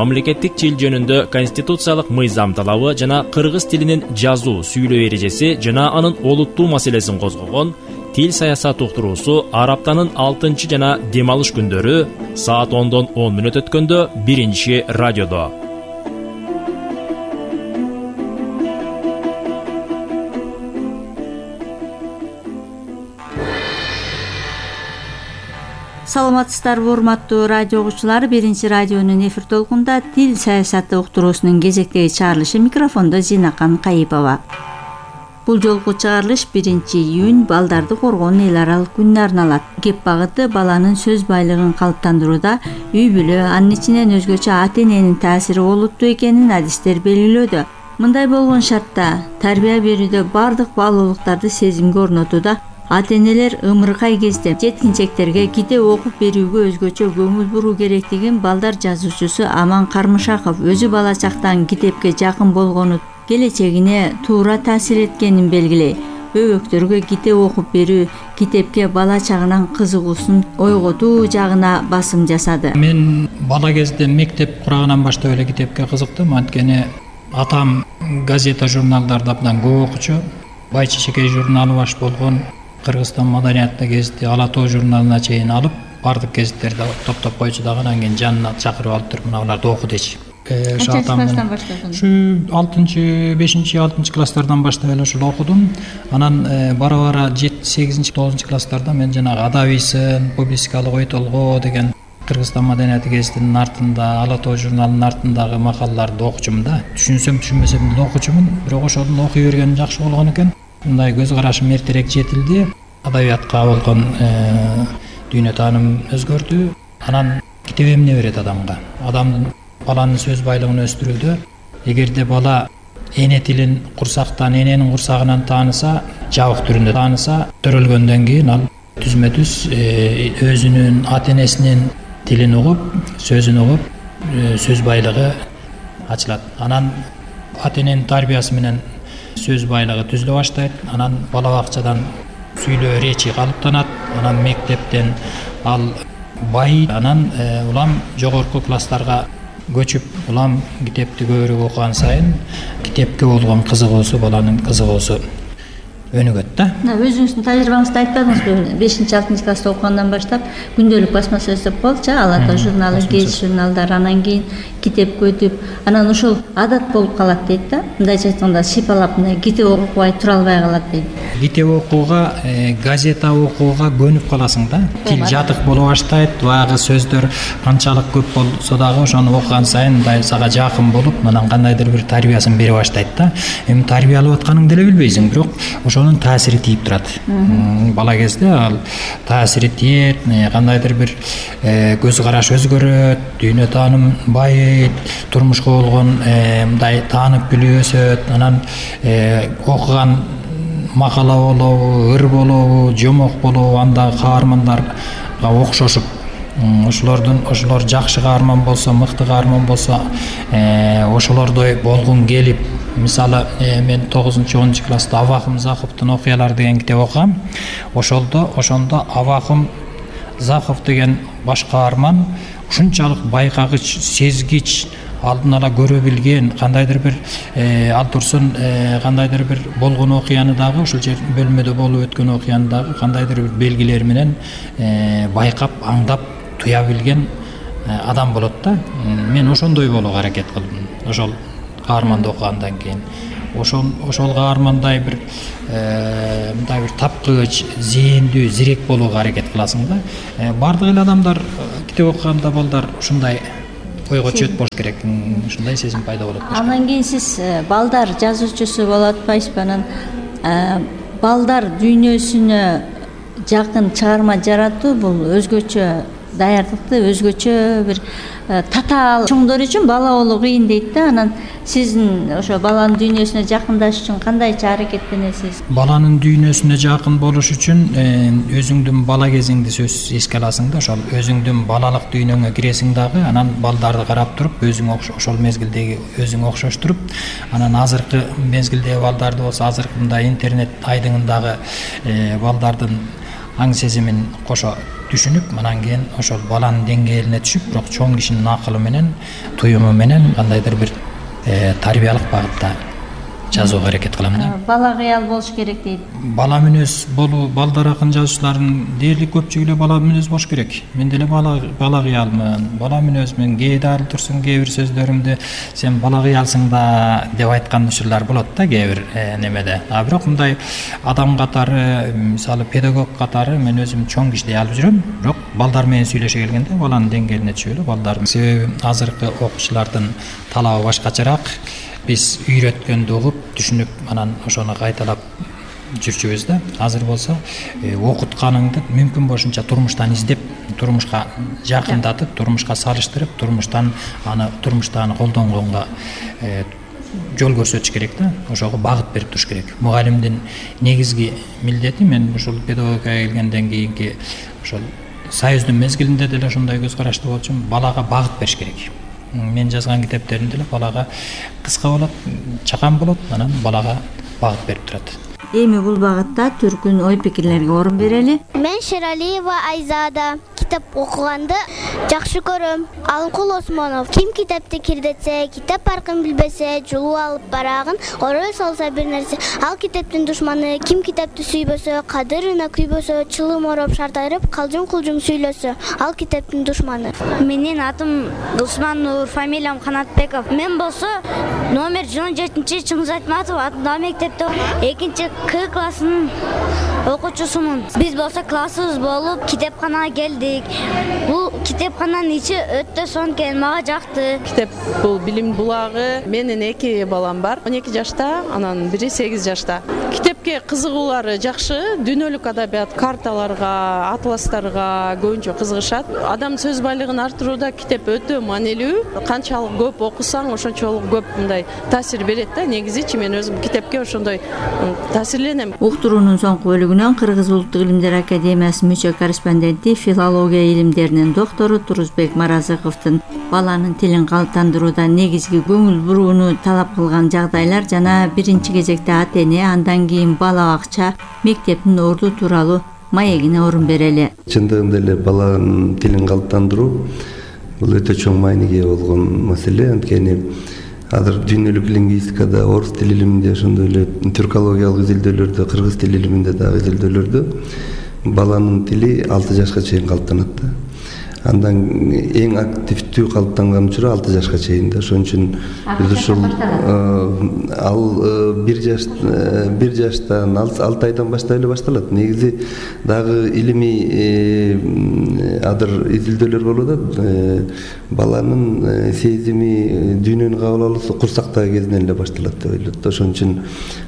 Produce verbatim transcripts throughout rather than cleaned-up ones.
мамлекеттик тил жөнүндө конституциялык мыйзам талабы жана кыргыз тилинин жазуу, сүйлөө эрежеси жана анын олуттуу маселесин козгогон Тил саясат уктуруусу ар аптанын алтынчы жана дем алыш күндөрү саат ондон он мүнөт өткөндө биринчи радиодо. Саламатсыздарбы, урматтуу радио угуучулар. Биринчи радионун эфир толкунда тил саясаты уктуруусунун кезектеги чыгарылышы, микрофондо Зинакан Кайыпова. Бул жолку чыгарылыш биринчи июнь балдарды коргоонун эл аралык күнүнө арналат. Кеп багыты баланын сөз байлыгын калыптандырууда үй бүлө, анын ичинен өзгөчө ата-эненин таасири олуттуу экенин адистер белгилөөдө. Мындай болгон шартта тарбия берүүдө бардык баалуулуктарды сезимге орнотууда ата-энелер ымыркай кезде жеткинчектерге китеп окуп берүүгө өзгөчө көңүл буруу керектигин балдар жазуучусу Аман Кармышаков өзү бала чактан китепке жакын болгону келечегине туура таасир эткенин белгилей. Бөбөктөргө китеп окуп берүү китепке бала чагынан кызыгуусун ойготуу жагына басым жасады. Мен бала кезде мектеп курагынан баштап эле китепке кызыктым. Анткени атам газета журналдарды абдан көп окучу. Бай Чечекей журналы баш болгон, Кыргызстан маданиятты гезити Ала Тоо журналына чейин алып, бардык гезиттерди топтоп койчу дагы, анан кийин жанына чакырып алып туруп, мына буларды оку дечи. Канча класстан баштадың? Ушу алтынчы, бешинчи, алтынчы класстардан баштап эле ушул окудум. Анан бара-бара жетинчи, сегизинчи, тогузунчу класстарда мен жанагы Адабийсын, публистикалык ой толгоо деген Кыргызстан маданияты гезитинин артында, Ала Тоо журналынын артындагы макалаларды окучумун да. Түшүнсөм, түшүнбөсөм деле окучумун. Бирок ошондон окуй бергеним жакшы болгон экен. Мындай көз карашым эртерээк жетилди. Адабиятка болгон дүйнө тааным өзгөрдү. Анан китеп эмне берет адамга? Адамдын баланын сөз байлыгын өстүрүүдө, эгерде бала эне тилин курсактан, эненин курсагынан тааныса, жабык түрүндө тааныса, төрөлгөндөн кийин ал түзмө-түз өзүнүн ата-энесинин тилин угуп, сөзүн угуп, сөз байлыгы ачылат. Анан ата-эненин тарбиясы менен сөз байлыгы түзүлө баштайт. Анан бала бакчадан сүйлөө речи калыптанат. Анан мектептен ал бай, анан улам жогорку класстарга көчүп, улам китепти көбүрөөк окуган сайын китепке болгон кызыгуусу, баланын кызыгуусу өнүгөт да. Өзүңүздүн тажрыйбаңызды айтпадыңызбы? бешинчи, алтынчы класста окугандан баштап күндөлүк басмасы өстөп болчу, Ала Тоо журналы, гезит журналдар, анан кийин китепке өтүп, анан ошол адат болуп калат дейт да. Мындайча айтканда сыйпалап мындай китеп окубай тура албай калат дейт. Китеп окууга, газета окууга көнүп каласың да. Тил жатык боло баштайт, баягы сөздөр канчалык көп болсо дагы ошону окуган сайын мындай сага жакын болуп, анан кандайдыр бир тарбиясын бере баштайт да. Эми тарбиялап атканыңды деле билбейсиң, бирок ошонун таасири тийип турат. Бала кезде ал таасири тиет, кандайдыр бир көз караш өзгөрөт, дүйнө тааным байыйт, турмушка болгон мындай таанып билүү өсөт. Анан окуган макала болобу, ыр болобу, жомок болобу, андагы каармандарга окшошуп, ошолордун ошолор жакшы каарман болсо, мыкты каарман болсо, ошолордой болгуң келип, мисалы мен тогузунчу, онунчу класста Авакым Заховдун окуялары деген китеп окугам. Ошолдо ошондо Авакым Захов деген баш каарман ушунчалык байкагыч, сезгич, алдын ала көрө билген, кандайдыр бир ал турсун кандайдыр бир болгон окуяны дагы, ушул жер бөлмөдө болуп өткөн окуяны дагы кандайдыр бир белгилер менен байкап, аңдап, туя билген адам болот да. Мен ошондой болууга аракет кылдым. Ошол каарманды окугандан кийин ошол ошол каармандай бир мындай бир тапкыч, зээндүү, зирек болууга аракет кыласың да. Бардык эле адамдар китеп окуганда балдар ушундай ойго чөт болуш керек, ушундай сезим пайда болот. Андан кийин сиз балдар жазуучусу болуп атпайсызбы? Анан балдар дүйнөсүнө жакын чыгарма жаратуу бул өзгөчө даярдыкты, өзгөчө бир татаал чоңдор үчүн бала болуу кыйын дейт да. Анан сиздин ошо баланын дүйнөсүнө жакындаш үчүн кандайча аракеттенесиз? Баланын дүйнөсүнө жакын болуш үчүн өзүңдүн бала кезиңди сөз эске аласың да. Ошол өзүңдүн балалык дүйнөңө киресиң дагы, анан балдарды карап туруп, өзүң ошол мезгилдеги өзүң окшоштуруп, анан азыркы мезгилдеги балдарды болсо, азыркы мындай интернет айдыңындагы балдардын аң сезимин кошо түшүнүп, анан кийин ошол баланын деңгээлине түшүп, бирок чоң кишинин акылы менен, туюму менен кандайдыр бир тарбиялык багытта жазууга аракет кылам да. Бала кыял болуш керек дейт. Бала мүнөз болуу, балдар акын жазуучулардын дээрлик көпчүлүгү эле бала мүнөз болуш керек. Мен деле бала бала кыялмын, бала мүнөзмүн. Кээде ар турсун кээ бир сөздөрүмдө сен бала кыялсың да деп айткан учурлар болот да кээ бир немеде. А бирок мындай адам катары, мисалы педагог катары мен өзүм чоң кишидей алып жүрөм. Бирок балдар менен сүйлөшө келгенде баланын деңгээлине түшүп эле балдар. Себеби азыркы окуучулардын талабы башкачараак. Биз үйрөткөндү угуп, түшүнүп, анан ошону кайталап жүрчүбүз да. Азыр болсо окутканыңды мүмкүн болушунча турмуштан издеп, турмушка жакындатып, турмушка салыштырып, турмуштан аны турмушта аны колдонгонго жол көрсөтүш керек да. Ошого багыт берип туруш керек. Мугалимдин негизги милдети, мен ушул педагогикага келгенден кийинки ошол союздун мезгилинде деле ошондой көз карашты болчумун, балага багыт бериш керек. Мен жазган китептеримде эле балага кыска болот, чакан болот, анан балага багыт берип турат. Эми бул багытта түркүн ой пикирлерге орун берели. Мен Шералиева Айзада. Китап окуганды жакшы көрөм. Алыкул Осмонов. Ким китапты кирдетсе, китап паркын билбесе, жулуп алып барагын орой салса бир нерсе. Ал китаптын душманы. Ким китапты сүйбөсө, кадырына күйбөсө, чылым ороп шартайрып, калжың-кулжың сүйлөсө, ал китаптын душманы. Менин атым Дусман, фамилиям Канатбеков. Мен болсо номер жыйырма жетинчи Чыңгыз Айтматов атындагы мектепте экинчи К классынын окуучусумун. Биз болсо классыбыз болуп китепканага келдик. Бул китепкананын ичи өтө сонун экен, мага жакты. Китеп бул билим булагы. Менин эки балам бар. он эки жашта, анан бири сегиз жашта. Китепке кызыгуулары жакшы. Дүйнөлүк адабият, карталарга, атластарга көбүнчө кызыгышат. Адам сөз байлыгын артырууда китеп өтө маанилүү. Канчалык көп окусаң, ошончолук көп мындай таасир берет да. Негизичи мен өзүм китепке ошондой таасирленем. Уктуруунун соңку бөлүгүнөн Кыргыз Улуттук Илимдер Академиясынын мүчө корреспонденти, филология илимдеринин доктору Турузбек Маразыковдун баланын тилин калыптандырууда негизги көңүл бурууну талап кылган жагдайлар жана биринчи кезекте ата-эне, андан кийин бала бакча, мектептин орду тууралуу маегине орун берели. Чындыгында эле баланын тилин калыптандыруу бул өтө чоң мааниге ээ болгон маселе. Анткени азыр дүйнөлүк лингвистикада, орус тил илиминде, ошондой эле тюркологиялык изилдөөлөрдө, кыргыз тил илиминде дагы изилдөөлөрдө баланын тили алты жашка чейин калыптанат да. Андан эң активдүү калыптанган учуру алты жашка чейин да. Ошон үчүн биз ушул ал бир жаш бир жаштан алты айдан баштап эле башталат. Негизи дагы илимий адыр изилдөөлөр болуп атат. Баланын сезими, дүйнөнү кабыл алуусу курсактагы кезинен эле башталат деп ойлойт. Ошон үчүн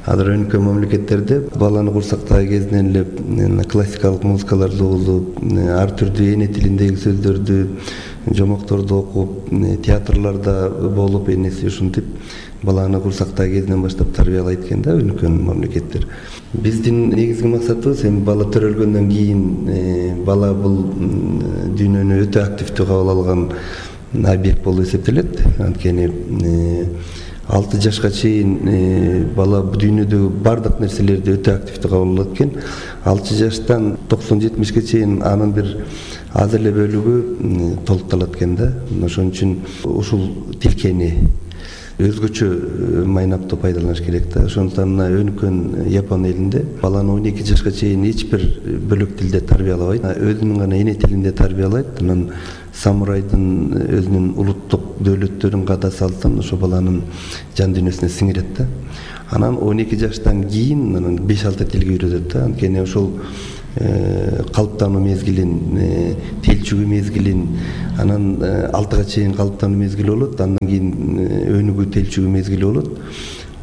азыр өнүккөн мамлекеттерде баланы курсактагы кезинен эле классикалык музыкаларды угулуп, ар түрдүү эне тилиндеги сөздөрдү, жомокторду окуп, театрларда болуп, энеси ушинтип баланы курсактагы кезинен баштап тарбиялайт экен да өнүккөн мамлекеттер. Биздин негизги максатыбыз эми бала төрөлгөндөн кийин бала бул дүйнөнү өтө активдүү кабыл алган объект болуп эсептелет. Анткени алты жашка чейин бала дүйнөдөгү бардык нерселерди өтө активдүү кабыл алат экен. алты жаштан токсон жетимишке чейин анын бир аз эле бөлүгү толукталат экен да. Ошон үчүн ушул тилкени өзгөчө майнапты пайдаланыш керек да. Ошондуктан мына өнүккөн Япон элинде баланы он эки жашка чейин эч бир бөлөк тилде тарбиялабайт. Өзүнүн гана эне тилинде тарбиялайт. Анан самурайдын өзүнүн улуттук дөөлөттөрүн ката салсын, ошо баланын жан дүйнөсүнө сиңирет да. Анан он эки жаштан кийин анан беш алты тилге үйрөтөт да. Анткени ошол калыптануу мезгилин, телчүгүү мезгилин, анан алтыга чейин калыптануу мезгили болот, андан кийин өнүгүү телчүгүү мезгили болот.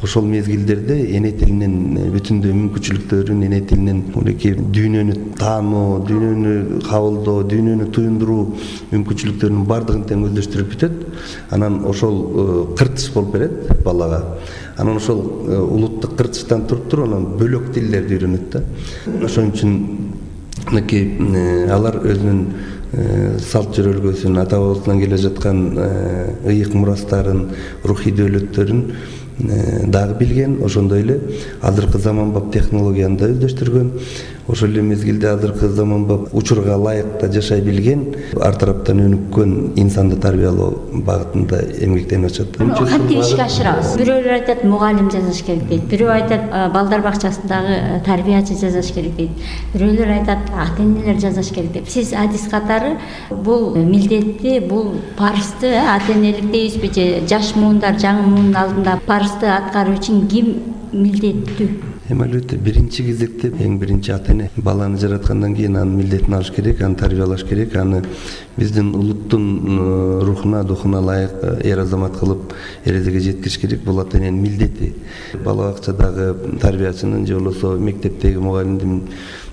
Ошол мезгилдерде эне тилинин бүтүндөй мүмкүнчүлүктөрүн, эне тилинин мынакей дүйнөнү таануу, дүйнөнү кабылдоо, дүйнөнү туюндуруу мүмкүнчүлүктөрүнүн бардыгын тең өздөштүрүп бүтөт. Анан ошол кыртыш болуп берет балага. Анан ошол улуттук кыртыштан туруп туруп анан бөлөк тилдерди үйрөнөт да. Ошон үчүн мынакей алар өзүнүн салт жөрөлгөсүн, ата бабасынан келе жаткан ыйык мурастарын, рухий дөөлөттөрүн дагы билген. Ошондой эле азыркы заманбап технологияны да өздөштүргөн. ошол эле мезгилде азыркы заманбап учурга ылайык жашай билген, ар тараптан өнүккөн инсанды тарбиялоо багытында эмгектенип атышат. Кантип ишке ашырабыз? Бирөөлөр айтат мугалим жазыш керек дейт, бирөө айтат балдар бакчасындагы тарбиячы жазыш керек дейт, бирөөлөр айтат ата-энелер жазыш керек деп. Сиз адис катары бул милдетти, бул парызды ата-энелик дейбизби же жаш муундар жаңы муунун алдында парызды аткаруу үчүн ким милдеттүү? Эми албетте биринчи кезекте эң биринчи ата-эне баланы жараткандан кийин анын милдетин алыш керек, аны тарбиялаш керек, аны биздин улуттун рухуна, духуна ылайык эр азамат кылып эрезеге жеткириш керек. Бул ата-эненин милдети. Бала бакчадагы тарбиячынын же болбосо мектептеги мугалимдин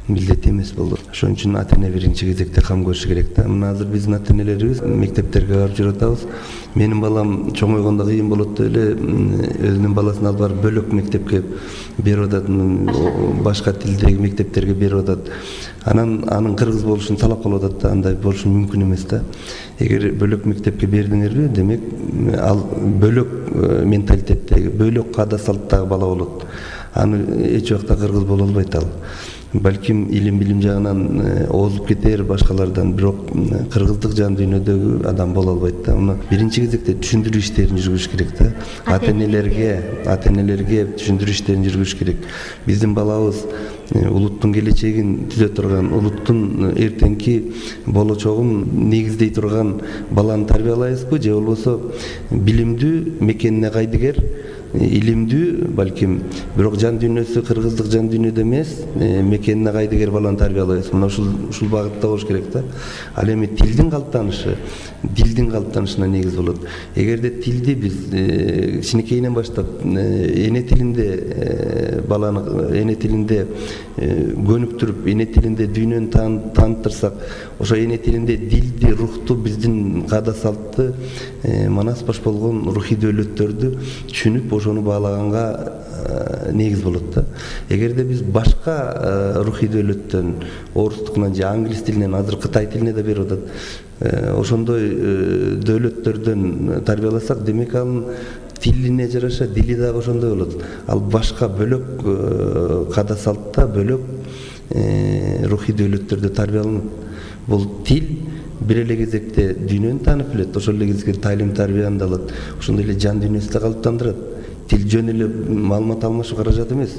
милдети эмес болду. Ошон үчүн ата-эне биринчи кезекте кам көрүш керек да. Мына азыр биздин ата-энелерибиз мектептерге барып жүрүп атабыз. Менин балам чоңойгондо кыйын болот деп эле өзүнүн баласын алып барып бөлөк мектепке берип атат, башка тилдеги мектептерге берип атат. Анан анын кыргыз болушун талап кылып атат да, андай болушу мүмкүн эмес да. Эгер бөлөк мектепке бердиңерби, демек ал бөлөк менталитеттеги, бөлөк каада салттагы бала болот. Аны эч убакта кыргыз боло албайт ал. Балким илим билим жагынан озуп кетер башкалардан, бирок кыргыздык жан дүйнөдөгү адам боло албайт да. Муну биринчи кезекте түшүндүрүү иштерин жүргүзүш керек да. Ата-энелерге, ата-энелерге түшүндүрүү иштерин жүргүзүш керек. Биздин балабыз улуттун келечегин түзө турган, улуттун эртеңки болочогун негиздей турган баланы тарбиялайбызбы же болбосо билимдүү, мекенине кайдыгер, илимдүү, балким бирок жан дүйнөсү кыргыздык жан дүйнөдө эмес, мекенине кайдыгер баланы тарбиялайбыз. Мына ушул ушул багытта болуш керек да. Ал эми тилдин калыптанышы, дилдин калыптанышына негиз болот. Эгерде тилди биз кичинекейинен баштап эне тилинде баланы эне тилинде көнүктүрүп, эне тилинде дүйнөнү тааныттырсак, ошо эне тилинде дилди, рухту, биздин каада салтты, манас баш болгон рухий дөөлөттөрдү түшүнүп, ошону баалаганга негиз болот да. Эгерде биз башка рухий дөөлөттөн, орустукунан же англис тилинен, азыр кытай тилине да берип атат, ошондой дөөлөттөрдөн тарбияласак, демек анын тилине жараша дили дагы ошондой болот. Ал башка бөлөк каада салтта, бөлөк рухий дөөлөттөрдө тарбияланат. Бул тил бир эле кезекте дүйнөнү таанып билет, ошол эле кезекте тайлим тарбияны да алат, ошондой эле жан дүйнөсү да калыптандырат. Тил жөн эле маалымат алмашуу каражат эмес.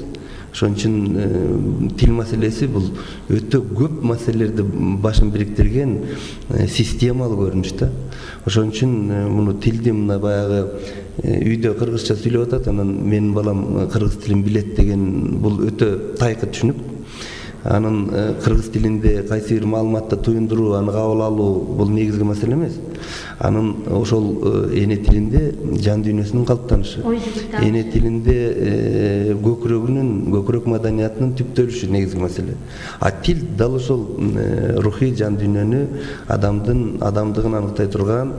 Ошон үчүн тил маселеси бул өтө көп маселелерди башын бириктирген системалык көрүнүш да. Ошон үчүн муну тилди мына баягы үйдө кыргызча сүйлөп атат, анан менин балам кыргыз тилин билет деген бул өтө тайкы түшүнүк. Анын кыргыз тилинде кайсы бир маалыматты туюндуруу, аны кабыл алуу бул негизги маселе эмес. Анын ошол эне тилинде жан дүйнөсүнүн калыптанышы, эне тилинде көкүрөгүнүн, көкүрөк маданиятынын түптөлүшү негизги маселе. А тил дал ошол рухий жан дүйнөнү, адамдын адамдыгын аныктай турган,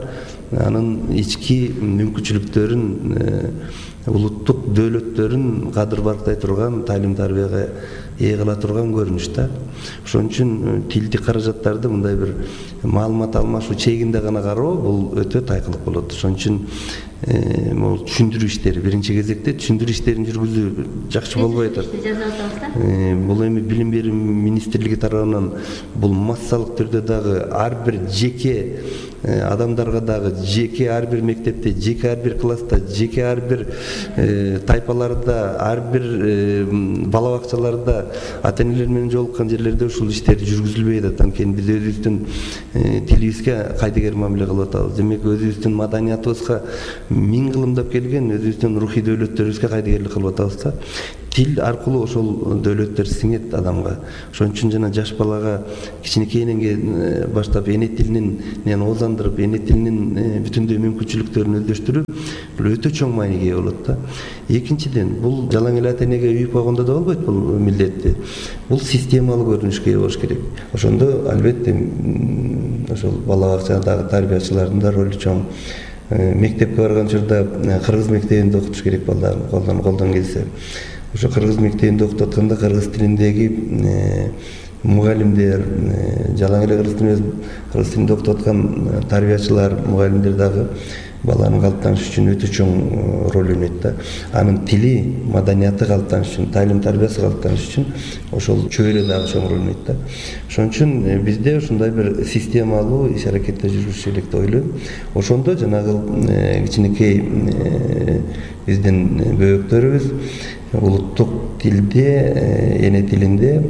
анын ички мүмкүнчүлүктөрүн, улуттук дөөлөттөрүн кадыр барктай турган, тайлим тарбияга ээ кыла турган көрүнүш да. Ошон үчүн тилдик каражаттарды мындай бир маалымат алмашуу чегинде гана кароо бул өтө тайкылык болот. Ошон үчүн бул түшүндүрүү иштери биринчи кезекте түшүндүрүү иштерин жүргүзүү жакшы болбой атат. Бул эми билим берүү министрлиги тарабынан бул массалык түрдө дагы ар бир жеке адамдарга дагы, жеке ар бир мектепте, жеке ар бир класста, жеке ар бир тайпаларда, ар бир бала бакчаларда ата-энелер менен жолуккан жерлерде ушул иштер жүргүзүлбөй атат. Анткени биз өзүбүздүн тилибизге кайдыгер мамиле кылып атабыз. Демек өзүбүздүн маданиятыбызга миң кылымдап келген өзүбүздүн рухий дөөлөттөрүбүзгө кайдыгерлик кылып атабыз да. Тил аркылуу ошол дөөлөттөр сиңет адамга. Ошон үчүн жана жаш балага кичинекейинен баштап эне тилинен оозандырып, эне тилинин бүтүндөй мүмкүнчүлүктөрүн өздөштүрүп, бул өтө чоң мааниге ээ болот да. Экинчиден, бул жалаң эле ата-энеге үйүп койгондо да болбойт бул милдетти. Бул системалык көрүнүшкө ээ болуш керек. Ошондо албетте ошол бала бакчадагы тарбиячылардын да ролу чоң. Мектепке барган учурда кыргыз мектебинде окутуш керек балдарды, колдон колдон келсе. Ошо кыргыз мектебинде окутуп атканда кыргыз тилиндеги мугалимдер, жалаң эле кыргыз тилинде кыргыз тилинде окутуп аткан тарбиячылар, мугалимдер дагы баланын калыптанышы үчүн өтө чоң роль ойнойт да. Анын тили, маданияты калыптаныш үчүн, талим тарбиясы калыптаныш үчүн ошол чөйрө дагы чоң роль ойнойт да. Ошон үчүн бизде ушундай бир системалуу иш аракетте жүрүш керек деп ойлойм. Ошондо жанагы кичинекей биздин бөбөктөрүбүз улуттук тилде, эне тилинде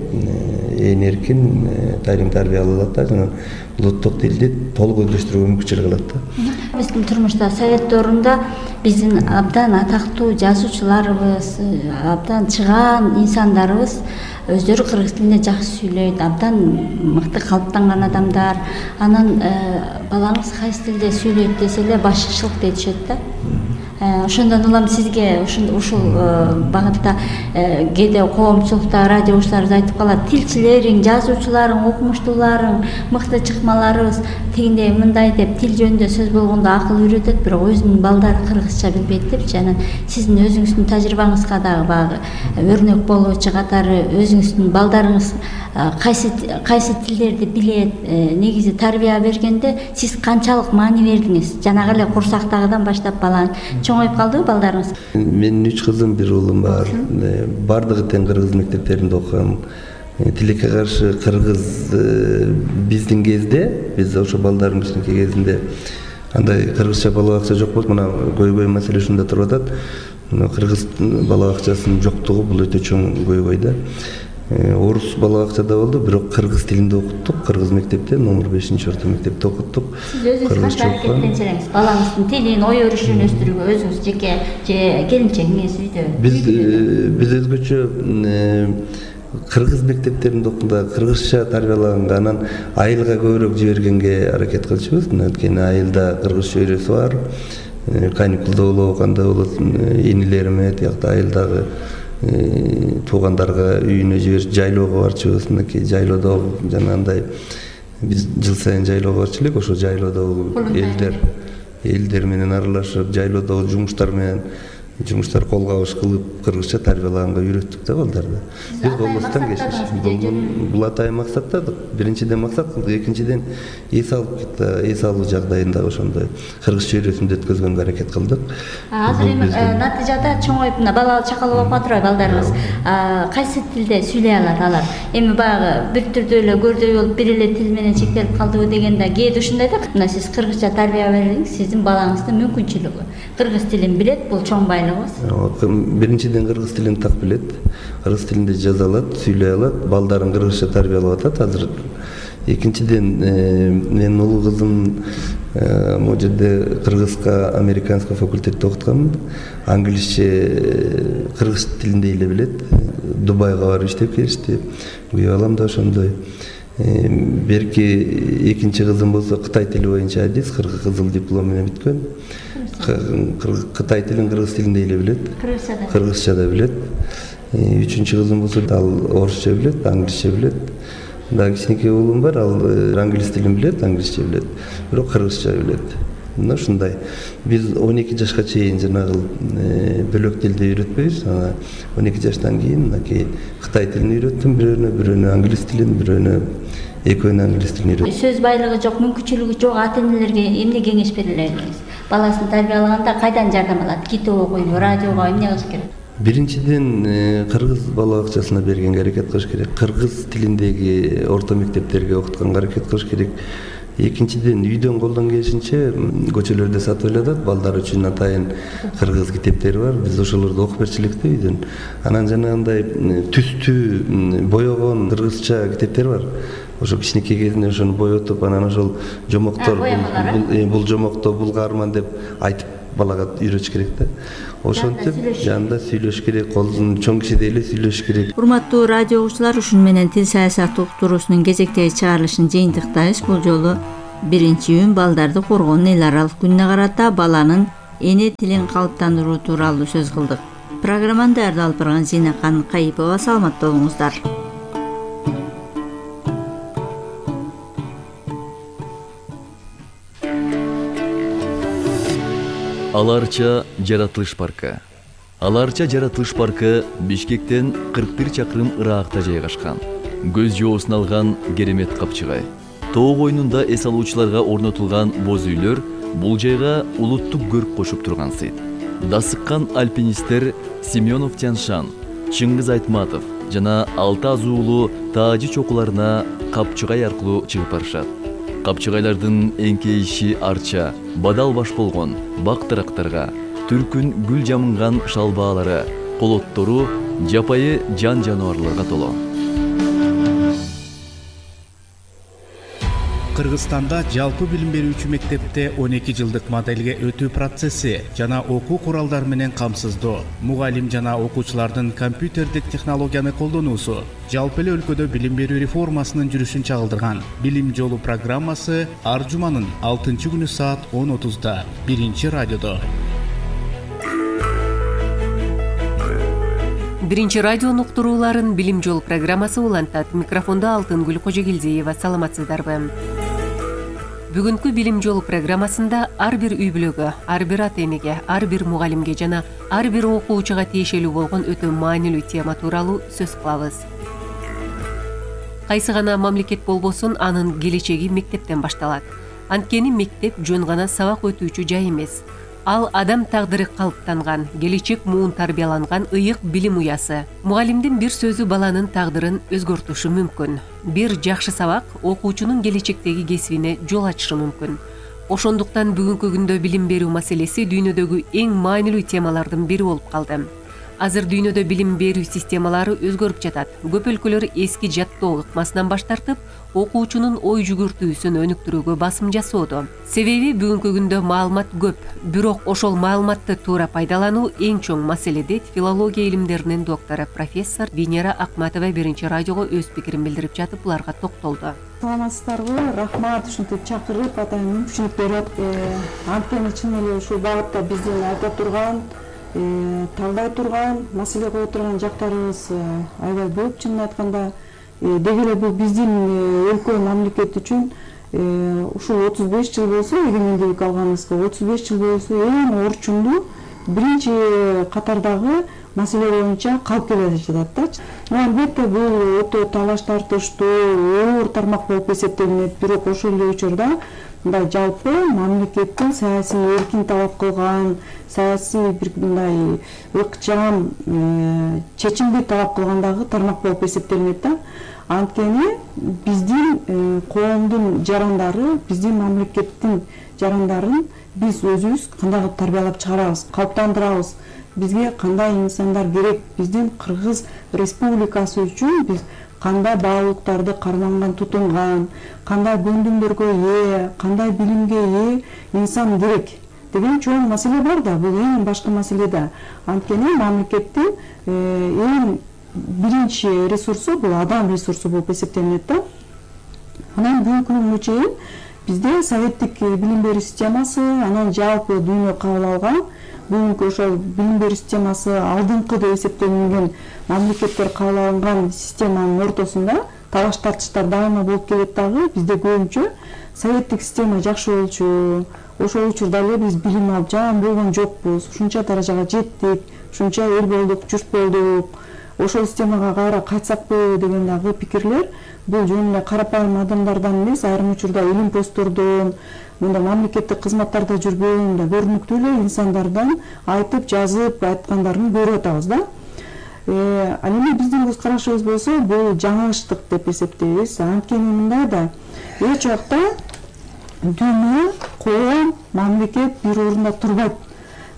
ээн эркин талим тарбия ала алат да, жана улуттук тилди толук өздөштүрүүгө мүмкүнчүлүк алат да. Биздин турмушта совет доорунда биздин абдан атактуу жазуучуларыбыз, абдан чыгаан инсандарыбыз өздөрү кыргыз тилинде жакшы сүйлөйт, абдан мыкты калыптанган адамдар. Анан балаңыз кайсы тилде сүйлөйт десе эле башы шылк этишет да. Ошондон улам сизге ушул багытта кээде коомчулукта радио угуучуларыбыз айтып калат, тилчилериң, жазуучуларың, окумуштууларың, мыкты чыкмаларыбыз тигиндей мындай деп тил жөнүндө сөз болгондо акыл үйрөтөт, бирок өзүнүн балдары кыргызча билбейт депчи. Анан сиздин өзүңүздүн тажрыйбаңызга дагы багы өрнөк болуучу катары өзүңүздүн балдарыңыз кайсы кайсы тилдерди билет, негизи тарбия бергенде сиз канчалык маани бердиңиз? Жанагы эле курсактагыдан баштап баланы чоңоюп калдыбы балдарыңыз? Менин үч кызым, бир уулум бар. Бардыгы тең кыргыз мектептеринде окуган. Тилекке каршы кыргыз биздин кезде, биз ошо балдардын кичинекей кезинде андай кыргызча бала бакча жок болчу. Мына көйгөй маселе ушунда туруп атат. Кыргыз бала бакчасынын жоктугу бул өтө чоң көйгөй да. Орус бала бакчада болду, бирок кыргыз тилинде окуттук. Кыргыз мектепте, номер бешинчи орто мектепте окуттук. Сиз өзүңүз кантип аракеттенсеңиз, балаңыздын тилин, ой өрүшүн өстүрүүгө өзүңүз жеке же келинчегиңиз үйдө? Биз биз өзгөчө кыргыз мектептеринде окуганда кыргызча тарбиялаганга, анан айылга көбүрөөк жибергенге аракет кылчубуз. Анткени айылда кыргыз чөйрөсү бар. Каникулда болобу, кандай болот, инилериме тиякта айылдагы туугандарга үйүнө жиберип жайлоого барчубыз. Мынакей жайлоодо жанагындай биз жыл сайын жайлоого барчу элек. Ошо жайлоодо элдер элдер менен аралашып, жайлоодо жумуштар менен жумуштар кол кабыш кылып кыргызча тарбиялаганга үйрөттүк да балдарды. Биз колбостон кечиш. Бул атайын максатта, биринчиден максат кылдык, экинчиден эс алып эс алуу жагдайында ошондой кыргыз чөйрөсүндө өткөзгөнгө аракет кылдык. Азыр эми натыйжада чоңоюп мына бала чакал болуп атырбы балдарыбыз? Кайсы тилде сүйлөй алат алар? Эми баягы бир түрдүү эле көрдөй болуп бир эле тил менен чектелип калдыбы дегенде кээде ушундай да. Мына сиз кыргызча тарбия бердиңиз, сиздин балаңыздын мүмкүнчүлүгү. Кыргыз тилин билет, бул чоң байлыгыбыз. Биринчиден кыргыз тилин так билет, кыргыз тилинде жаза алат, сүйлөй алат, балдарын кыргызча тарбиялап атат азыр. Экинчиден менин улуу кызым могу жерде кыргызка американский факультетте окутканмын. Англисче кыргыз тилинде эле билет. Дубайга барып иштеп келишти. Күйөө балам да ошондой. Берки экинчи кызым болсо кытай тили боюнча адис, кызыл диплом менен бүткөн. Кытай тилин кыргыз тилинде эле билет. Кыргызча да билет. Үчүнчү кызым болсо ал орусча билет, англисче билет. Дагы кичинекей уулум бар, ал англис тилин билет, англисче билет, бирок кыргызча билет. Мына ушундай. Биз он эки жашка чейин жанагы бөлөк тилди үйрөтпөйбүз. Анан он эки жаштан кийин мынакей кытай тилин үйрөттүм, бирөөнө, бирөөнө англис тилин, бирөөнө экөөнө англис тилин үйрөттүм. Сөз байлыгы жок, мүмкүнчүлүгү жок ата-энелерге эмне кеңеш бере элеңиз? Баласын тарбиялаганда кайдан жардам алат? Китеп окуйбу, радиого эмне кылыш керек? Биринчиден кыргыз бала бакчасына бергенге аракет кылыш керек. Кыргыз тилиндеги орто мектептерге окутканга аракет кылыш керек. Экинчиден үйдөн колдон келишинче көчөлөрдө сатып эле атат, балдар үчүн атайын кыргыз китептери бар. Биз ошолорду окуп берчү элек да үйдөн. Анан жанагындай түстүү боёгон кыргызча китептер бар. Ошо кичинекей кезинде ошону боетип, анан ошол жомоктор бул жомокто бул каарман деп айтып балага үйрөтүш керек да. Ошентип жанында сүйлөш керек, колдун чоң кишидей эле сүйлөш керек. Урматтуу радио угуучулар, ушун менен тил саясаты уктуруусунун кезектеги чыгарылышын жыйынтыктайбыз. Бул жолу биринчи июнь балдарды коргоонун эл аралык күнүнө карата баланын эне тилин калыптандыруу тууралуу сөз кылдык. Программаны даярдап алып барган Зинакан Кайыпова. Саламатта болуңуздар. Аларча жаратылыш паркы. Аларча жаратылыш паркы Бишкектен кырк бир чакырым ыракта жайгашкан. Көз жоосун алган керемет капчыгай. Тоо койнунда эс алуучуларга орнотулган боз үйлөр бул жайга улуттук көрк кошуп турган сыйт. Дасыккан альпинисттер Семенов Тяншан, Чыңгыз Айтматов жана алты азуулуу таажы чокуларына капчыгай аркылуу чыгып барышат. Капчыгайлардын эңкейиши арча, бадал баш болгон бак тарактарга, түркүн гүл жамынган шалбаалары, колоттору жапайы жан жаныбарларга толо. Кыргызстанда жалпы билим берүүчү мектепте он эки жылдык моделге өтүү процесси жана окуу куралдары менен камсыздоо, мугалим жана окуучулардын компьютердик технологияны колдонуусу жалпы эле өлкөдө билим берүү реформасынын жүрүшүн чагылдырган Билим жолу программасы ар жуманын алтынчы күнү саат он отузда биринчи радиодо. Биринчи радионун уктурууларын Билим жолу программасы улантат. Микрофондо Алтынгүл Кожогелдиева. Саламатсыздарбы? Бүгүнкү Билим жолу программасында ар бир үй бүлөгө, ар бир ата энеге, ар бир мугалимге жана ар бир окуучуга тиешелүү болгон өтө маанилүү тема тууралуу сөз кылабыз. Кайсы гана мамлекет болбосун, анын келечеги мектептен башталат. Анткени мектеп жөн гана сабак өтүүчү жай эмес. Ал адам тагдыры калыптанган, келечек муун тарбияланган ыйык билим уясы. Мугалимдин бир сөзү баланын тагдырын өзгөртүшү мүмкүн. Бир жакшы сабак окуучунун келечектеги кесибине жол ачышы мүмкүн. Ошондуктан бүгүнкү күндө билим берүү маселеси дүйнөдөгү эң маанилүү темалардын бири болуп калды. Азыр дүйнөдө билим берүү системалары өзгөрүп жатат. Көп өлкөлөр эски жаттоо ыкмасынан баш тартып, окуучунун ой жүгүртүүсүн өнүктүрүүгө басым жасоодо. Себеби бүгүнкү күндө маалымат көп, бирок ошол маалыматты туура пайдалануу эң чоң маселе, дейт филология илимдеринин доктору профессор Венера Акматова биринчи радиого өз пикирин билдирип жатып, буларга токтолду. Саламатсыздарбы? Рахмат, ушинтип чакырып, атайын мүмкүнчүлүк берип, анткени чын эле ушул багытта биздин айта турган, талдай турган, маселе кое турган жактарыбыз аябай көп. Чынын айтканда, деги эле бул биздин өлкө мамлекет үчүн ушул отуз беш жыл болсо, эгемендүүлүк алганыбызга отуз беш жыл болсо эң орчундуу биринчи катардагы маселе боюнча калып келе жатат да. Албетте бул өтө талаш тартыштуу оор тармак болуп эсептелинет, бирок ошол эле учурда мындай жалпы мамлекеттин саясий эркин талап кылган, саясий бир мындай ыкчам чечимди талап кылгандагы тармак болуп эсептелинет да. Анткени биздин коомдун жарандары, биздин мамлекеттин жарандарын биз өзүбүз кандай тарбиялап чыгарабыз, калыптандырабыз, бизге кандай инсандар керек, биздин Кыргыз Республикасы үчүн биз кандай баалуулуктарды карманган, тутунган, кандай көндүмдөргө ээ, кандай билимге ээ инсан керек деген чоң маселе бар да. Бул эң башкы маселе да. Анткени мамлекеттин эң биринчи ресурсу бул адам ресурсу болуп эсептелинет да. Анан бүгүнкү күнгө чейин бизде советтик билим берүү системасы, анан жалпы дүйнө кабыл алган бүгүнкү ошол билим берүү системасы алдыңкы деп эсептелинген мамлекеттер кабыл алган системанын ортосунда талаш тартыштар дайыма болуп келет дагы. Бизде көбүнчө советтик система жакшы болчу, ошол учурда эле биз билим алып жаман болгон жокпуз, ушунча даражага жеттик, ушунча эл болдук, журт болдук, ошол системага кайра кайтсакпы деген дагы пикирлер бул жөн эле карапайым адамдардан эмес, айрым учурда илим посттордон, мында мамлекеттик кызматтарда жүргөн мындай көрүнүктүү эле инсандардан айтып, жазып айткандарын көрүп атабыз да. Ал эми биздин көз карашыбыз болсо, бул жаңылыштык деп эсептейбиз. Анткени мындай да, эч убакта дүйнө, коом, мамлекет бир орунда турбайт.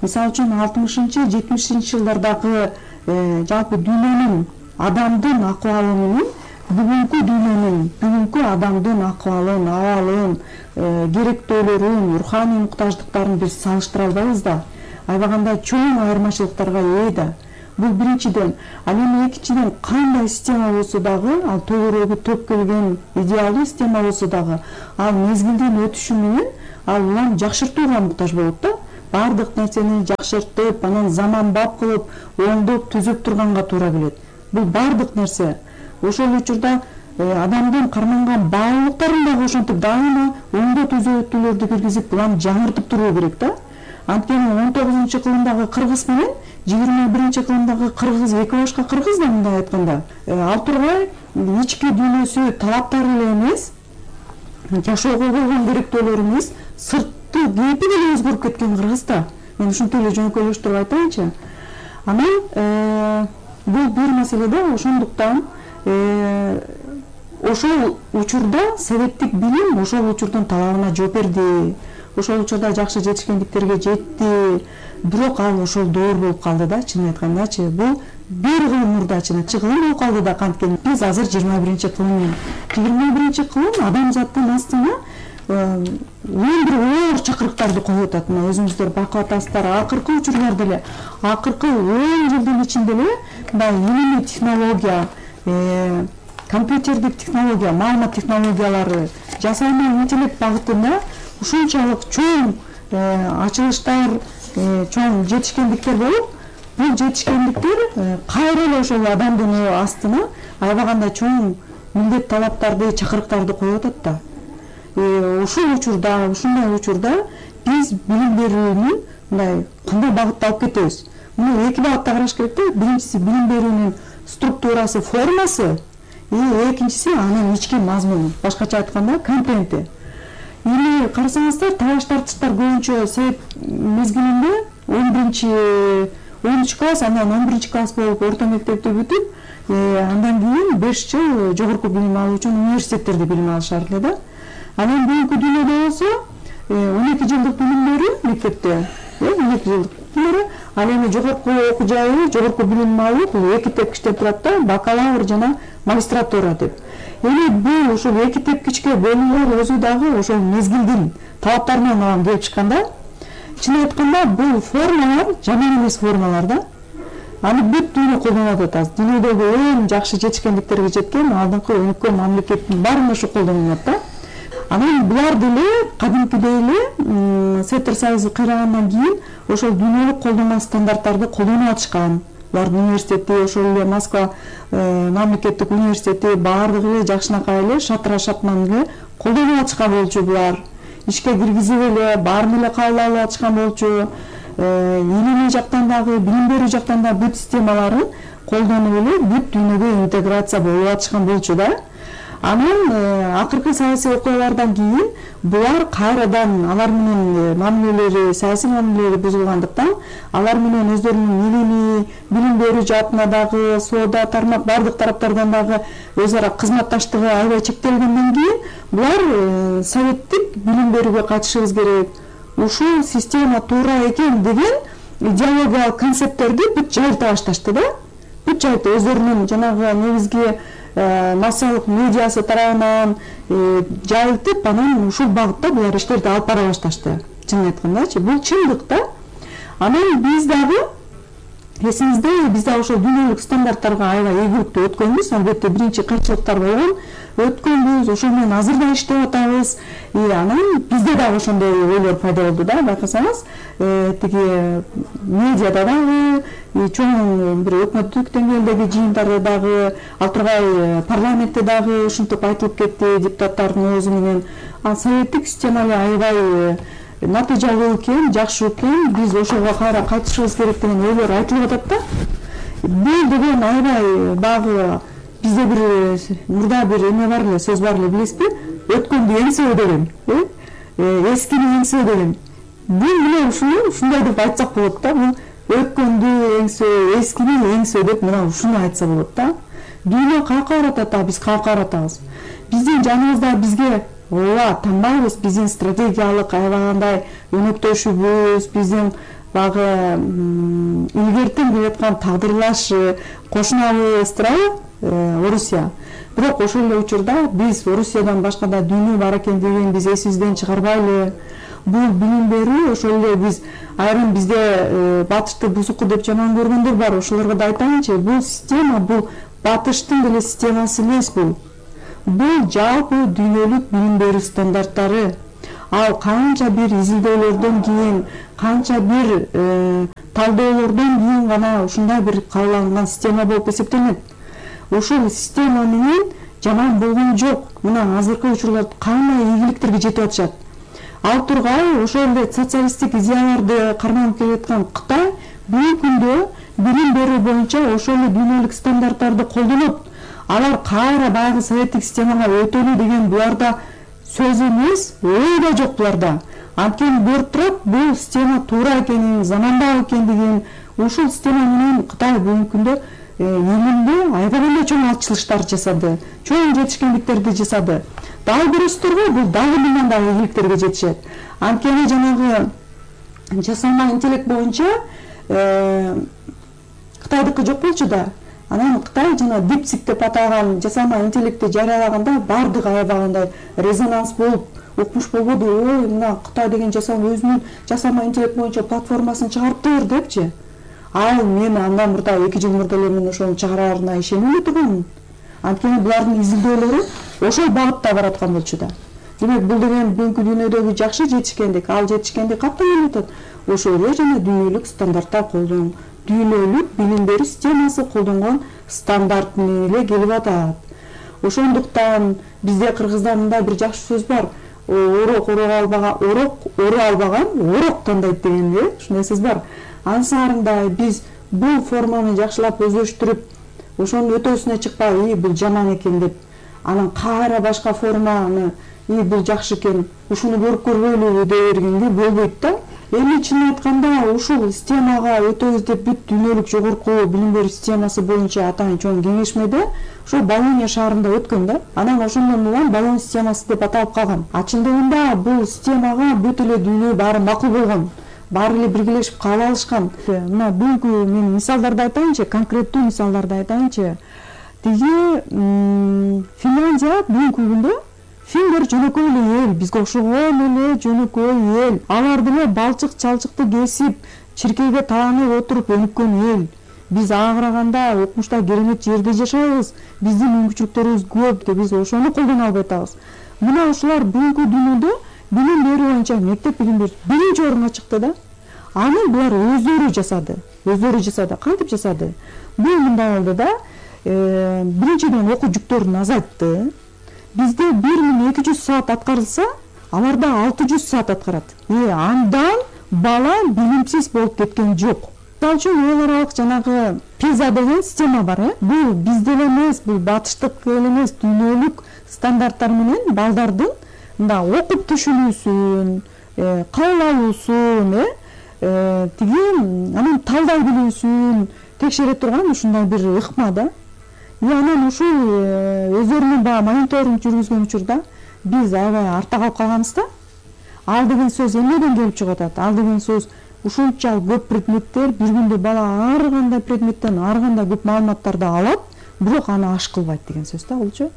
Мисалы үчүн алтымышынчы, жетимишинчи жылдардагы жалпы дүйнөнүн адамдын акыбалы менен бүгүнкү дүйнөнүн, бүгүнкү адамдын акыбалын, абалын, керектөөлөрүн, руханий муктаждыктарын биз салыштыра албайбыз да. Аябагандай чоң айырмачылыктарга ээ да. Бул биринчиден. Ал эми экинчиден, кандай система болсо дагы, ал төгөрөгү төп келген идеалдуу система болсо дагы, ал мезгилдин өтүшү менен ал улам жакшыртууга муктаж болот да. Бардык нерсени жакшыртып, анан заманбап кылып, оңдоп, түзүп турганга туура келет. Бул бардык нерсе. Ошол учурда адамдын карманган баалуулуктарын дагы ошентип дайыма оңдоо түзөтүүлөрдү киргизип, булам жаңыртып туруу керек да. Анткени он тогузунчу кылымдагы кыргыз менен жыйырма биринчи кылымдагы кыргыз эки башка кыргыз да, мындай айтканда. Ал тургай ички дүйнөсү талаптары эле эмес, жашоого болгон керектөөлөр эмес, сырт саясаттуу кейпи деле өзгөрүп кеткен Кыргызда. Мен ушинтип эле жөнөкөйлөштүрүп айтайынчы. Анан бул бир маселе да, ошондуктан ошол учурда советтик билим ошол учурдун талабына жооп берди. Ошол учурда жакшы жетишкендиктерге жетти. Бирок ал ошол доор болуп калды да, чынын айткандачы. Бул бир кылым мурдачы кылым болуп калды да, канткени биз азыр жыйырма биринчи кылым. жыйырма биринчи кылым адамзаттын астына он бир оор чакырыктарды коюп атат. Мына өзүңүздөр байкап атасыздар, акыркы учурларда эле, акыркы он жылдын ичинде эле мындай илимий технология, компьютердик технология, маалымат технологиялары, жасанды интеллект багытында ушунчалык чоң ачылыштар, чоң жетишкендиктер болуп, бул жетишкендиктер кайра эле ошол адамдын астына аябаганда чоң милдет талаптарды, чакырыктарды коюп атат да. Ушул учурда, ушундай учурда биз билим берүүнү мындай кандай багытта алып кетебиз? Муну эки багытта караш керек да. Биринчиси билим берүүнүн структурасы, формасы, экинчиси анын ички мазмуну, башкача айтканда контенти. Эми карасаңыздар, талаш тартыштар көбүнчө совет мезгилинде он биринчи он үч класс, андан он биринчи класс болуп орто мектепти бүтүп, андан кийин беш жыл жогорку билим алуу үчүн университеттерде билим алышар эле да. Анан бүгүнкү дүйнөдө болсо он эки жылдык билим берүү мектепте, он эки жылдык билим берүү, ал эми жогорку окуу жайы, жогорку билим алуу бул эки тепкичтеп турат да, бакалавр жана магистратура деп. Эми бул ушул эки тепкичке бөлүнүлөр өзү дагы ошол мезгилдин талаптарынан алам келип чыкканда, чын айтканда бул формалар жаман эмес формалар да. Аны бүт дүйнө колдонуп атат. Дүйнөдөгү эң жакшы жетишкендиктерге жеткен алдыңкы өнүккөн мамлекеттин баарында ушу колдонулат да. Анан булар деле кадимкидей эле Советтер Союзу кыйрагандан кийин ошол дүйнөлүк колдонгон стандарттарды колдонуп атышкан. Булардын университети, ошол эле Москва мамлекеттик университети баардыгы эле жакшынакай эле шатыра шатман эле колдонуп атышкан болчу булар. Ишке киргизип эле баарын эле кабыл алып атышкан болчу. Илимий жактан дагы, билим берүү жактан да бүт системаларын колдонуп эле бүт дүйнөгө интеграция болуп атышкан болчу да. Анан акыркы саясий окуялардан кийин булар кайрадан алар менен мамилелери, саясий мамилелери бузулгандыктан алар менен өздөрүнүн илимий, билим берүү жаатына дагы, соода, тармак бардык тараптардан дагы өз ара кызматташтыгы аябай чектелгенден кийин булар советтик билим берүүгө кайтышыбыз керек. Ушул система туура экен деген идеологиялык концепттерди бүт жайылта башташты да. Бүт жайылта өздөрүнүн жанагы негизги массалык медиасы тарабынан жайылтып, анан ушул багытта булар иштерди алып бара башташты. Чын айткандачы, бул чындык да. Анан биз дагы эсиңизде, биз дагы ошол дүйнөлүк стандарттарга аябай ийгиликтүү өткөнбүз. Албетте биринчи кыйынчылыктар болгон, өткөнбүз, ошол менен азыр да иштеп атабыз. Анан бизде дагы ошондой ойлор пайда болду да, байкасаңыз, тиги медиада дагы, чоң бир өкмөттүк деңгээлдеги жыйындарда дагы, ал тургай парламентте дагы ушинтип айтылып кетти депутаттардын оозу менен. А советтик система эле аябай натыйжалуу экен, жакшы экен, биз ошого кайра кайтышыбыз керек деген ойлор айтылып атат да. Бул деген аябай багы бизде бир мурда бир эме бар эле, сөз бар эле, билесизби? Өткөндү эңсөө деген, эскини эңсөө деген. Бул мына ушуну ушундай деп айтсак болот да. Бул өткөндү эңсөө, эскини эңсөө деп мына ушуну айтса болот да. Дүйнө каяка баратат, а биз каяка баратабыз. Биздин жаныбызда бизге ооба танбайбыз, биздин стратегиялык аябагандай өнөктөшүбүз, биздин багы илгертен келаткан тагдырлаш кошунабыз турабы, Орусия. Бирок ошол эле учурда биз Орусиядан башка да дүйнө бар экен деген биз эсибизден чыгарбайлы. Бул билим берүү ошол эле биз айрым бизде батышты бузуку деп жаман көргөндөр бар, ошолорго да айтайынчы, бул система бул батыштын деле системасы эмес бул. Бул жалпы дүйнөлүк билим берүү стандарттары. Ал канча бир изилдөөлөрдөн кийин, канча бир талдоолордон кийин гана ушундай бир кабылган система болуп эсептелет. Ошол система менен жаман болгон жок. Мына азыркы учурларда кандай ийгиликтерге жетип атышат. Ал тургай ошол эле социалисттик идеяларды карманып келаткан Кытай бүгүнкү күндө билим берүү боюнча ошол эле дүйнөлүк стандарттарды колдонуп, алар кайра баягы советтик системага өтөлү деген буларда сөз эмес, ой да жок буларда. Анткени көрүп турат, бул система туура экенин, замандап экендигин. Ушул система менен Кытай бүгүнкү күндө элимде айбагандай чоң ачылыштар жасады, чоң жетишкендиктерди жасады. Дагы көрөсүздөргө, бул дагы мындан да ийгиликтерге жетишет. Анткени жанагы жасалма интеллект боюнча Кытайдыкы жок болчу да. Анан Кытай жана DeepSeek деп аталган жасалма интеллектти жарыялаганда бардыгы аябагандай резонанс болуп, укмуш болбоду. Ой, мына Кытай деген жасалма өзүнүн жасалма интеллект боюнча платформасын чыгарыптыр депчи. Ал мен андан мурда эки жыл мурда эле мен ошону чыгараарына ишенбей тургам. Анткени булардын изилдөөлөрү ошол багытта бараткан болчу да. Демек бул деген бүгүнкү дүйнөдөгү жакшы жетишкендик, ал жетишкендик каттан келип атат. Ошол эле жана дүйнөлүк стандарттар колдон, дүйнөлүк билим берүү системасы колдонгон стандарт менен эле келип атат. Ошондуктан бизде Кыргызда мындай бир жакшы сөз бар. Орок орок албаган, орок ору албаган орок тандайт деген э, ушундай сөз бар. Ансаарында биз бул форманы жакшылап өздөштүрүп, ошонун өтөсүнө чыкпай, "И, бул жаман экен" деп, анан кайра башка форманы, "И, бул жакшы экен, ушуну көрүп көрбөйлүбү" деп бергенге болбойт да. Эми чын айтканда ушул системага өтөбүз деп бүт дүйнөлүк жогорку билим берүү системасы боюнча атайын чоң кеңешмеде ошол Болония шаарында өткөн да. Анан ошондон улам Болон системасы деп аталып калган. А чындыгында бул системага бүт эле дүйнө баары макул болгон. Баары эле биргелешип кабыл алышкан. Мына бүгүнкү мен мисалдарды айтайынчы, конкреттүү мисалдарды айтайынчы. Тиги Финляндия бүгүнкү күндө финдер жөнөкөй эле эл, бизге окшогон эле жөнөкөй эл. Алар деле балчык чалчыкты кесип, чиркейге таанып отуруп өнүккөн эл. Биз ага караганда укмушта керемет жерде жашайбыз. Биздин мүмкүнчүлүктөрүбүз көп деп биз ошону колдоно албай атабыз. Мына ушулар бүгүнкү дүйнөдө билим берүү боюнча мектеп билим берүү биринчи орунга чыкты да. Аны булар өздөрү жасады. Өздөрү жасады. Кантип жасады? Бул мындай болду да. Биринчиден окуу жүктөрүн азайтты. Бизде бир миң эки жүз саат аткарылса, аларда алты жүз саат аткарат. Э, андан бала билимсиз болуп кеткен жок. Мисалы үчүн эл аралык жанагы пиза деген система бар, э. Бул бизде эмес, бул батыштык эл эмес, дүйнөлүк стандарттар менен балдардын мында окуп түшүнүүсүн, кабыл алуусун, э, тиги анан талдай билүүсүн текшере турган ушундай бир ыкма да. И анан ушул өздөрүнүн баягы мониторинг жүргүзгөн учурда биз аябай артта калып калганбыз да. Ал деген сөз эмнеден келип чыгып атат? Ал деген сөз ушунча көп предметтер, бир күндө бала ар кандай предметтен ар кандай көп маалыматтарды алат, бирок аны аш кылбайт деген сөз да болчу.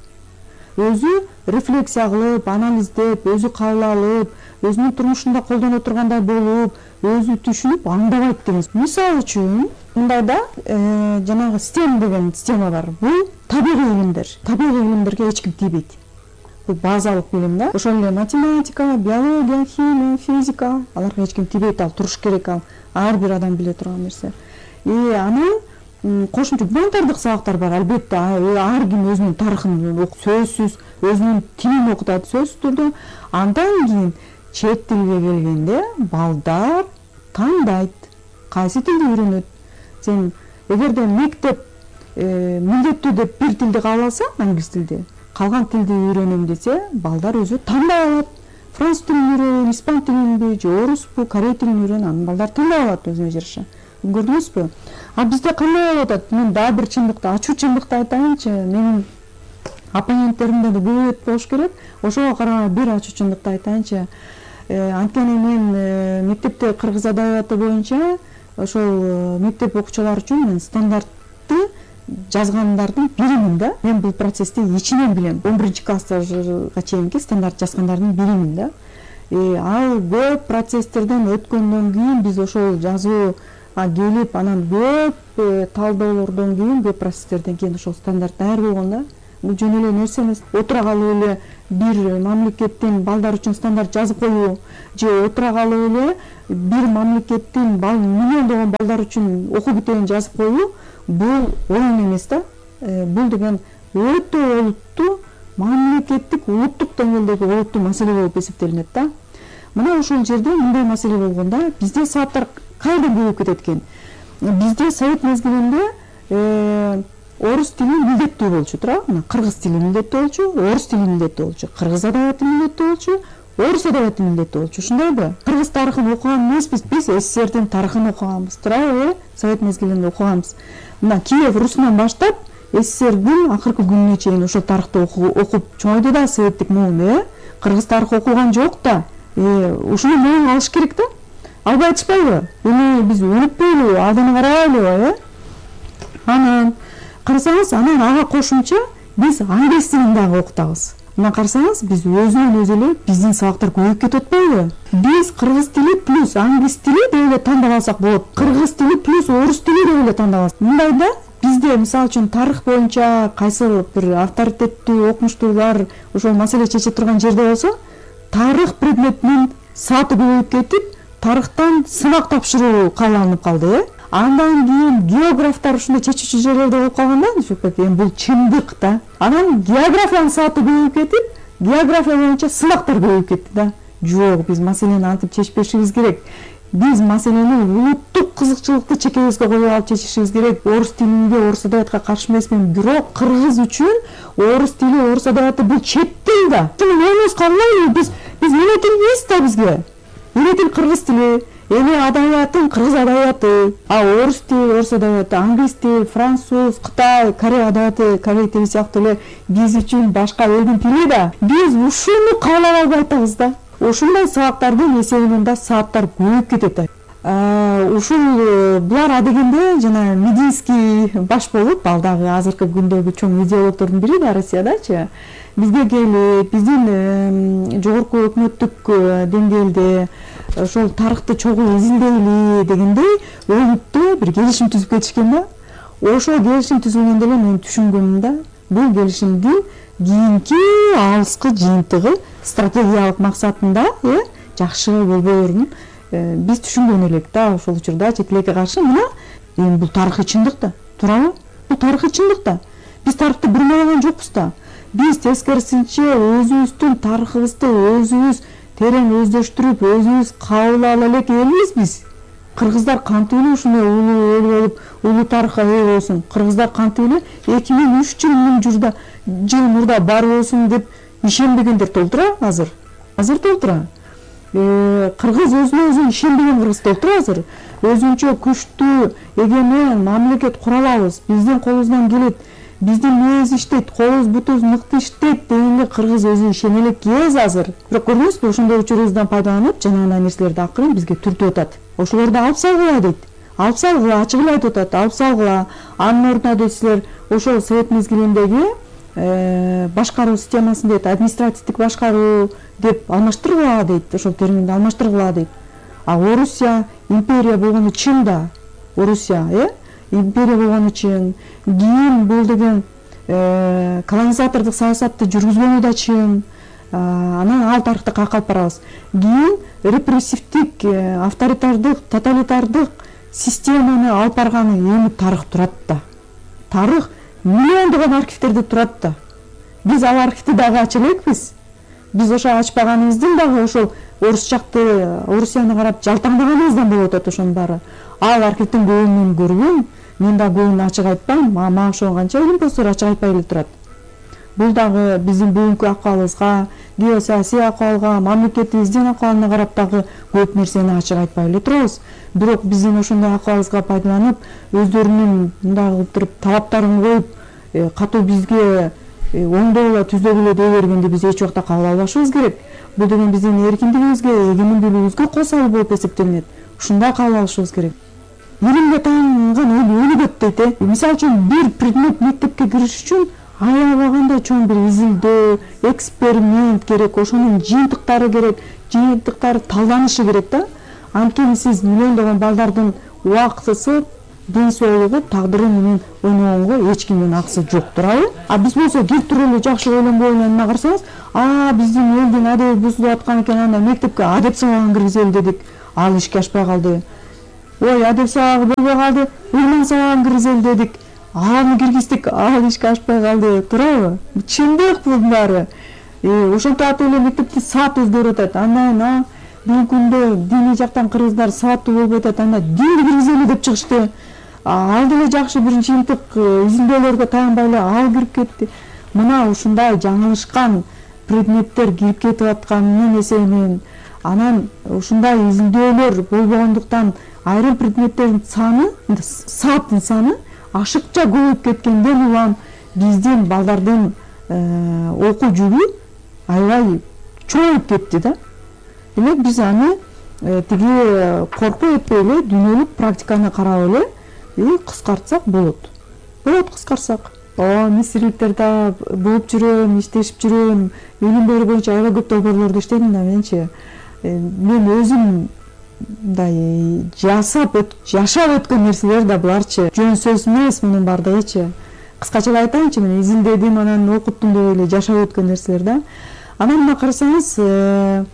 Өзү рефлексия кылып, анализдеп, өзү кабыл алып, өзүнүн турмушунда колдоно тургандай болуп, өзү түшүнүп аңдабайт деген. Мисалы үчүн, мындайда жанагы STEM деген система бар. Бул табигый илимдер. Табигый илимдерге эч ким тийбейт. Бул базалык билим да. Ошол эле математика, биология, химия, физика, аларга эч ким тийбейт, ал туруш керек, ал ар бир адам биле турган нерсе. И анан кошумча гуманитардык сабактар бар, албетте, ар ким өзүнүн тарыхын сөзсүз, өзүнүн тилин окутат сөзсүз түрдө. Андан кийин чет тилге келгенде балдар тандайт, кайсы тилди үйрөнөт. Сен эгерде мектеп милдеттүү деп бир тилди кабыл алса, англис тилди, калган тилди үйрөнөм десе, балдар өзү тандай алат. Француз тилин үйрөн, испан тилинби, же оруспу, корей тилин үйрөн, анан балдар тандай алат өзүнө жараша. Көрдүңүзбү? А бизде кандай болуп атат? Мен дагы бир чындыкты, ачуу чындыкты айтайынчы. Менин оппоненттеримде да көп болуш керек. Ошого караганда бир ачуу чындыкты айтайынчы. Анткени мен мектепте кыргыз адабияты боюнча ошол мектеп окуучулары үчүн мен стандартты жазгандардын биримин да. Мен бул процессти ичинен билем. он биринчи класска чейинки стандарт жазгандардын биримин да. Ал көп процесстерден өткөндөн кийин биз ошол жазуу келип, анан көп талдоолордон кийин, көп процесстерден кийин ошол стандарт даяр болгон да. Бул жөн эле нерсе эмес. Отура калып эле бир мамлекеттин балдар үчүн стандарт жазып коюу, же отура калып эле бир мамлекеттин бал миллиондогон балдар үчүн окуу китебин жазып коюу, бул оюн эмес да. Бул деген өтө олуттуу, мамлекеттик, улуттук деңгээлдеги олуттуу маселе болуп эсептелинет да. Мына ошол жерде мындай маселе болгондо бизде сааттар кайдан көбөйүп кетет экен? Бизде совет мезгилинде орус тили милдеттүү болчу, туурабы? Кыргыз тили милдеттүү болчу, орус тили милдеттүү болчу, кыргыз адабияты милдеттүү болчу, орус адабияты милдети болчу, ошондойбу? Кыргыз тарыхын окуган эмеспиз, биз СССРдин тарыхын окуганбыз, туурабы? Совет мезгилинде окуганбыз. Мына Киев Русунан баштап СССРдин акыркы күнүнө чейин ошол тарыхты окуп чоңойду да советтик муун, э? Кыргыз тарыхы окулган жок да. Э, ушуну муун алыш керек да. Албай атышпайбы? Эми биз өнүкпөйлү, алдыны карайлы, э? Анан карасаңыз, анан ага кошумча биз англис тилин дагы окутабыз. Мына карасаңыз, биз өзүнөн өзү эле биздин сабактар көбөйүп кетип атпайбы? Биз кыргыз тили плюс англис тили деп эле тандап алсак болот. Кыргыз тили плюс орус тили деп эле тандап алсак. Мындайда бизде мисалы үчүн тарых боюнча кайсы бир авторитеттүү окумуштуулар ошол маселе чече турган жерде болсо, тарых предметинин сааты көбөйүп кетип, тарыхтан сынак тапшыруу кааланып калды, э? Андан кийин географтар ушундай чечүүчү жерлерде болуп калганда, эми бул чындык да. Анан географиянын сааты көбөйүп кетип, география боюнча сынактар көбөйүп кетти да. Жок, биз маселени антип чечпешибиз керек. Биз маселени улуттук кызыкчылыкты чекебизге коюп алып чечишибиз керек. Орус тилинде, орус адабиятка каршы эмесмин, бирок кыргыз үчүн орус тили, орус адабияты бул чет тил да. Шуну эмес калбайлы, биз биз эмне тилбиз да бизге? Эмне тил кыргыз тили? Эми адабиятын кыргыз адабияты, а орус тили, орус адабияты, англис тил, француз, кытай, корей адабияты, корей тили сыяктуу эле биз үчүн башка элдин тили да. Биз ушуну каалап албай атабыз да. Ошондой сабактардын эсебинен да сааттар көбөйүп кетет да. Ушул булар адегенде жана Мединский баш болуп, ал дагы азыркы күндөгү чоң идеологдордун бири да Россиядачы. Бизге келип, биздин жогорку өкмөттүк деңгээлде ошол тарыхты чогуу изилдейли дегендей өңүттө бир келишим түзүп кетишкен да. Ошол келишим түзүлгөндө эле мен түшүнгөнүм да, бул келишимдин кийинки алыскы жыйынтыгы стратегиялык максатында, э, жакшы болбоорун биз түшүнгөн элек да. Ошол учурда чет элекке каршы мына эми бул тарыхый чындык да, туурабы? Бул тарыхый чындык да. Биз тарыхты бурмалаган жокпуз да. Биз тескерисинче өзүбүздүн тарыхыбызды өзүбүз терең өздөштүрүп, өзүбүз кабыл ала элек элбиз биз. Кыргыздар кантип эле ушундай улуу эл болуп, улуу тарыхка ээ болсун. Кыргыздар кантип эле эки миң үч жыл миң журда жыл мурда бар болсун деп ишенбегендер толтура азыр. Азыр толтура. Кыргыз өзүнө өзү ишенбеген кыргыз толтура азыр. Өзүнчө күчтүү, эгемен мамлекет кура алабыз. Биздин колубуздан келет. Биздин мээз иштейт, колубуз бутубуз мыкты иштейт дегенде кыргыз өзү ишене элек кез азыр. Бирок көрдүңүзбү, ошондой учурубуздан пайдаланып, жанагындай нерселерди акырын бизге түртүп атат. Ошолорду алып салгыла дейт. Алып салгыла, ачык эле айтып атат, алып салгыла. Анын ордуна дейт силер ошол совет мезгилиндеги башкаруу системасын дейт, административдик башкаруу деп алмаштыргыла дейт, ошол терминди алмаштыргыла дейт. А Орусия империя болгону чын да. Орусия, э? Империя болгону чын. Кийин бул деген колонизатордук саясатты жүргүзгөнү да чын. Анан ал тарыхты кайка алып барабыз. Кийин репрессивдик, авторитардык, тоталитардык системаны алып барганы эми тарых турат да. Тарых миллиондогон архивтерде турат да. Биз ал архивди дагы ача элекпиз. Биз ошо ачпаганыбыздын дагы ошол орус жакты, Орусияны карап жалтаңдаганыбыздан болуп атат ошонун баары. Ал архивдин көбүн мен көргөм, мен да көбүн ачык айтпайм, мага ошонгонча илимпоздор ачык айтпай эле турат. Бул дагы биздин бүгүнкү акыбалыбызга, геосаясий акыбалга, мамлекетибиздин акыбалына карап дагы көп нерсени ачык айтпай эле турабыз. Бирок биздин ошондой акыбалыбызга пайдаланып, өздөрүнүн мындай кылып туруп талаптарын коюп, катуу бизге оңдой эле, түздөп эле дей бергенди биз эч убакта кабыл албашыбыз керек. Бул деген биздин эркиндигибизге, эгемендүүлүгүбүзгө кол салуу болуп эсептелинет. Ушундай кабыл алышыбыз керек. Илимге таанган эл өнүгөт дейт, э. Мисалы үчүн бир предмет мектепке кириш үчүн аябаганда чоң бир изилдөө, эксперимент керек, ошонун жыйынтыктары керек, жыйынтыктары талданышы керек да. Анткени сиз миллиондогон балдардын убактысы, ден соолугу, тагдыры менен ойногонго эч кимдин акысы жок, туурабы? А биз болсо кир туруп эле жакшы ойлонбой эмне карасаңыз, а биздин элдин адеби бузулуп аткан экен, анда мектепке адеп сабагын киргизели дедик, ал ишке ашпай калды. Ой, адеп сабагы болбой калды, ыйлан сабагын киргизели дедик, аны киргиздик, ал ишке ашпай калды, туурабы? Чындык бул баары. Ошентип атып эле мектепти саат өзгөрүп атат. Андан бүгүнкү күндө диний жактан кыргыздар сааттуу болуп атат, анда динди киргизели деп чыгышты. Ал деле жакшы бир жыйынтык изилдөөлөргө таянбай эле ал кирип кетти. Мына ушундай жаңылышкан предметтер кирип кетип атканынын эсебинен, анан ушундай изилдөөлөр болбогондуктан айрым предметтердин саны, сааттын саны ашыкча көбөйүп кеткенден улам биздин балдардын окуу жүгү аябай чоңоюп кетти да. Демек биз аны тиги коркуу этпей эле дүйнөлүк практиканы карап эле кыскартсак болот. Болот кыскарсак. О, мисирликтер да болуп жүрөм, иштешип жүрөм. Билим берүү боюнча аябай көп долбоорлорду иштедим да менчи. Мен өзүм мындай жасап жашап өткөн нерселер да буларчы. Жөн сөз эмес мунун бардыгычы. Кыскача эле айтайынчы, мен изилдедим, анан окуттум деп эле жашап өткөн нерселер да. Анан мына карасаңыз,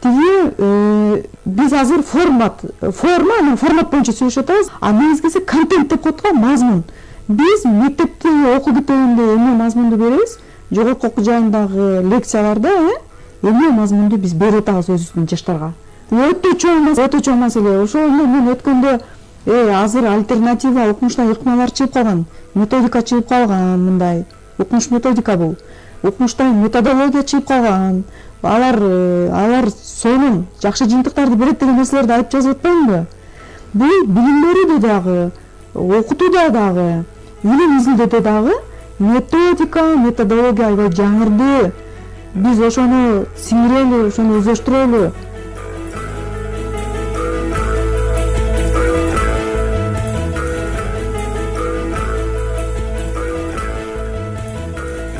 тиги биз азыр формат, форма, анан формат боюнча сүйлөшүп атабыз. А негизгиси контент деп коет го, мазмун. Биз мектепте окуу китебинде эмне мазмунду беребиз? Жогорку окуу жайындагы лекцияларда эмне мазмунду биз берип атабыз өзүбүздүн жаштарга. Өтө чоң, өтө чоң маселе. Ошол мен өткөндө э азыр альтернатива окумуштан ыкмалар чыгып калган, методика чыгып калган, мындай окумуш методика бул. Окумуштан методология чыгып калган. Алар алар сонун жакшы жыйынтыктарды берет деген нерселерди айтып жазып атпаймынбы? Бул билим берүүдө дагы, окутууда дагы, илим изилдөөдө дагы методика, методология аябай жаңырды. Биз ошону сиңирели, ошону өздөштүрөлү.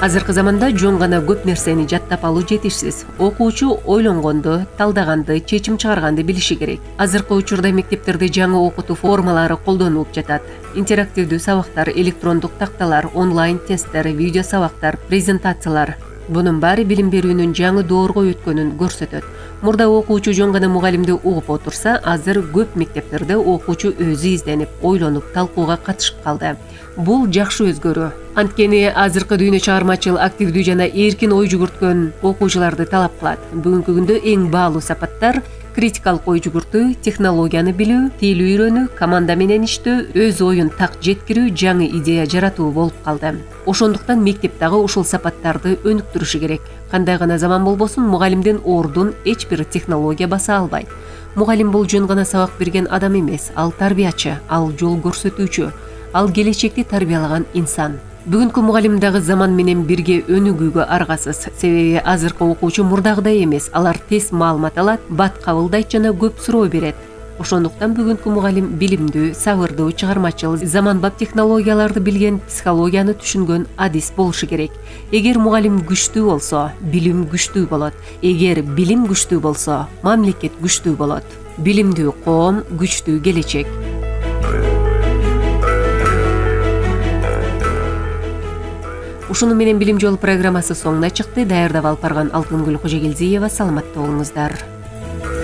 Азыркы заманда жөн гана көп нерсени жаттап алуу жетишсиз. Окуучу ойлонгонду, талдаганды, чечим чыгарганды билиши керек. Азыркы учурда мектептерде жаңы окутуу формалары колдонулуп жатат. Интерактивдүү сабактар, электрондук такталар, онлайн тесттер, видео сабактар, презентациялар. Бунун баары билим берүүнүн жаңы доорго өткөнүн көрсөтөт. Мурда окуучу жөн гана мугалимди угуп отурса, азыр көп мектептерде окуучу өзү изденип, ойлонуп, талкууга катышып калды. Бул жакшы өзгөрүү. Анткени азыркы дүйнө чыгармачыл, активдүү жана эркин ой жүгүрткөн окуучуларды талап кылат. Бүгүнкү күндө эң баалуу сапаттар критикалык ой жүгүртүү, технологияны билүү, тил үйрөнүү, команда менен иштөө, өз оюн так жеткирүү, жаңы идея жаратуу болуп калды. Ошондуктан мектеп дагы ушул сапаттарды өнүктүрүшү керек. Кандай гана заман болбосун, мугалимдин ордун эч бир технология баса албайт. Мугалим бул жөн гана сабак берген адам эмес, ал тарбиячы, ал жол көрсөтүүчү, ал келечекти тарбиялаган инсан. Бүгүнкү мугалим дагы заман менен бирге өнүгүүгө аргасыз. Себеби азыркы окуучу мурдагыдай эмес, алар тез маалымат алат, бат кабылдайт жана көп суроо берет. Ошондуктан бүгүнкү мугалим билимдүү, сабырдуу, чыгармачыл, заманбап технологияларды билген, психологияны түшүнгөн адис болушу керек. Эгер мугалим күчтүү болсо, билим күчтүү болот. Эгер билим күчтүү болсо, мамлекет күчтүү болот. Билимдүү коом, күчтүү келечек. Ушуну менен Билим жолу программасы соңуна чыкты. Даярдап алып барган Алтынгүл Кожогелдиева. Саламатта болуңуздар.